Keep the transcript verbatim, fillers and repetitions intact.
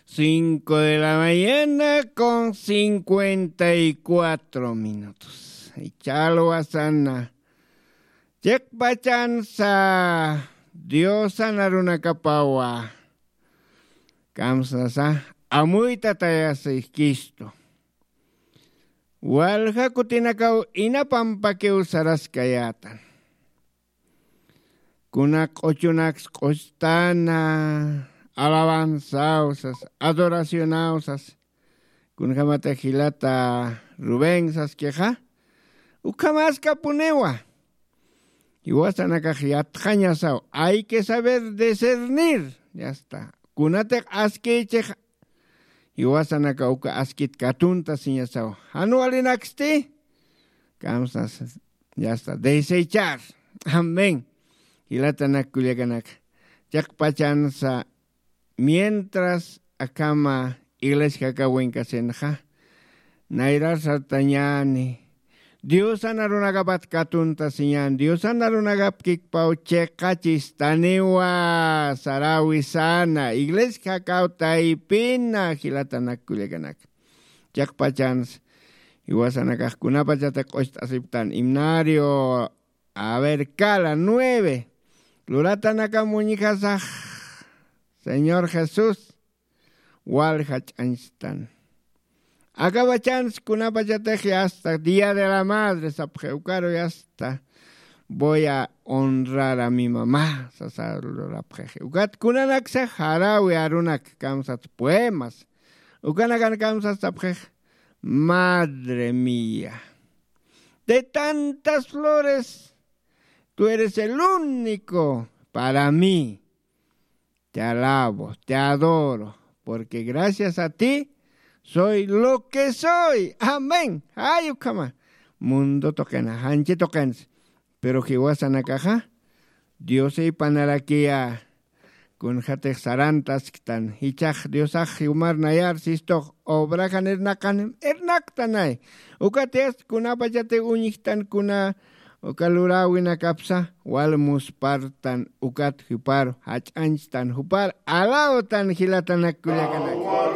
Cinco de la mañana con cincuenta y cuatro minutos. Chalwasana. Chiqpachansa Diosana runakapawa. Kamsasa amuyta tayasikistu. Walja kutinakaw inapampakiw saraskayätan. Kuna q'uchunaks q'ustana, alabanzaw sas, adoracionaw sas, kunjämatix jilata Rubén saskixa, ukhamaskapuniwa. Jiwasanakax yatxañasaw, hay que saber discernir, ya está. Kunatix askïchix, jiwasanaka uka askit katunta siñasaw. Jan walinaksti, kamsas, ya está, desechar. Amén. Jilatanak kullakanaka. Chiqpachansa, mientras akhama iglesia jakawinkasinxa, nayrar sartañäni. Diosana runakapat katunta siñän, Diosana runakapkikpaw chiqachistaniwa, saräwisana, iglesia jakaw taypina, jilatanak kullakanaka. Chiqpachans, jiwasanakax kunapachati q'ust'asiptan, himnario, a ver, kala, nueve. Luratanakam uñjasax, Señor Jesús, walja ch'añchtan. Akapachans kunapachatix ya está, Día de la Madre sapxi, ukaru ya está, voy a honrar a mi mamá, sasa lurapxixi. Ukat kunanaksa jaräwi arunak kamsat poemas. Ukanakan kamsat sapxix, madre mía, de tantas flores, tú eres el único para mí. Te alabo, te adoro, porque gracias a ti soy lo que soy. Amén. Ay, ukhama. Mundo tuqina, janchi tuqins. Pero jiwasanakaxa, Dios ipanarakiya, kunjatix sarantasktan, jichhax Diosax jumar nayar sistux, obrajan irnaqanim, irnaqtanay. Ukat yast kunapachati uñjtan kuna, uka luräwinakapsa, wal muspartan, ukat jupar, jach'anchtan, jupar, alawtan jilatanak kullakanak.